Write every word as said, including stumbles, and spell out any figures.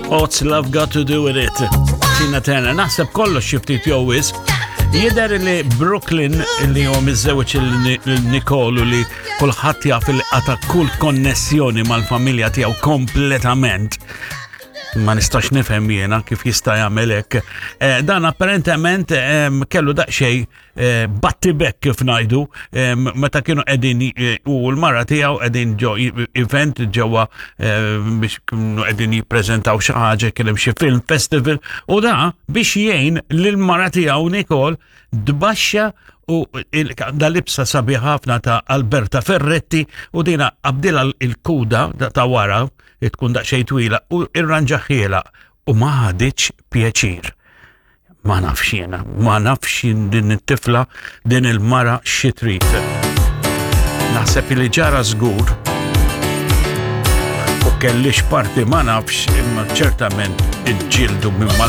What's Love Got to Do With It? Tina Turner, naħseb kollox xi ftit jew wisq. Jidher li Brooklyn li huwa miżżewġ lil Nicole u li kulħadd jaf li qata' kull konnessjoni mal-familja tiegħu kompletament. Ma nistax nifhem jiena kif jista' jagħmel hekk. Eh, dan apparentement em, kellu daqsxejn eh, battibek, kif ngħidu, em, meta kienu qegħdin eh, u l-mara tiegħu qegħdin ġo event ġewwa eh, biex kienu qegħdin jippreżentaw xi ħaġa, kien hemm xi film festival, u da biex jgħin lill-mara tiegħu Nicole tbaxxa u il- da libsa sabiħ ħafna ta' Alberta Ferretti u dina qabdilha il-kuda ta' wara tkun daqsxejn twila u irranġahielha u ma ħaditx pjaċir. Ma nafx jiena, ma nafx jien din it-tifla, din il-mara xi trid. Naħseb li ġara żgur u kellix parti, ma nafx, imma ċertament iġġieldu minn mal